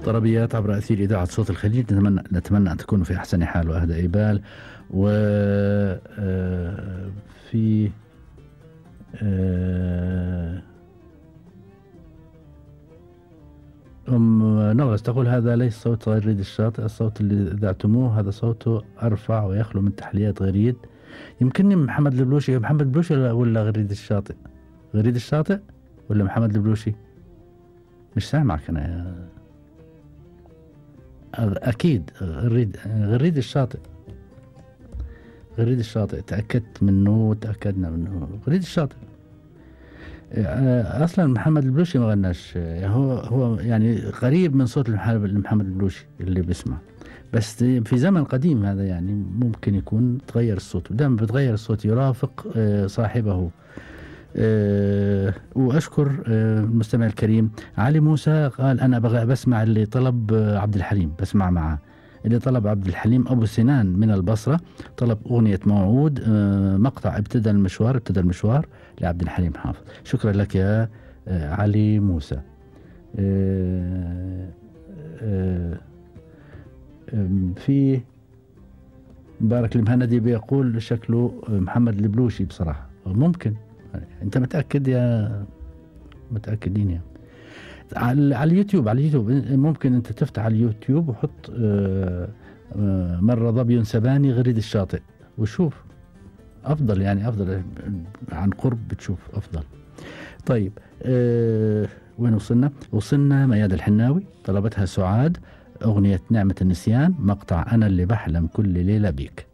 طربيات عبر أثير إذاعة صوت الخليج. نتمنى أن تكونوا في أحسن حال وأهدى بال. وفي نغز تقول هذا ليس صوت غريد الشاطئ، الصوت اللي ذعتموه هذا صوته أرفع ويخلو من تحليات غريد. يمكنني محمد البلوشي. محمد البلوشي ولا غريد الشاطئ؟ غريد الشاطئ ولا محمد البلوشي؟ مش سامعك أنا. أكيد غريد الشاطئ. غريد الشاطئ تأكدت منه وتأكدنا منه. غريد الشاطئ. أصلا محمد البلوشي ما غناش. هو يعني قريب من صوت محمد البلوشي اللي بيسمع، بس في زمن قديم هذا يعني ممكن يكون تغير الصوت، ودائما بتغير الصوت يرافق صاحبه. وأشكر المستمع الكريم علي موسى قال أنا بسمع اللي طلب عبد الحليم، بسمع معه اللي طلب عبد الحليم أبو سنان من البصرة، طلب أغنية موعود مقطع ابتدى المشوار لعبد الحليم حافظ. شكرا لك يا علي موسى. في مبارك المهندي بيقول شكله محمد البلوشي بصراحة. ممكن انت متأكد يا متأكدين يا على اليوتيوب ممكن انت تفتح على اليوتيوب وحط مرة ظبي سباني غريد الشاطئ وشوف افضل، يعني افضل عن قرب بتشوف افضل. طيب وين وصلنا مياد الحناوي طلبتها سعاد، اغنية نعمة النسيان مقطع انا اللي بحلم كل ليلة بيك.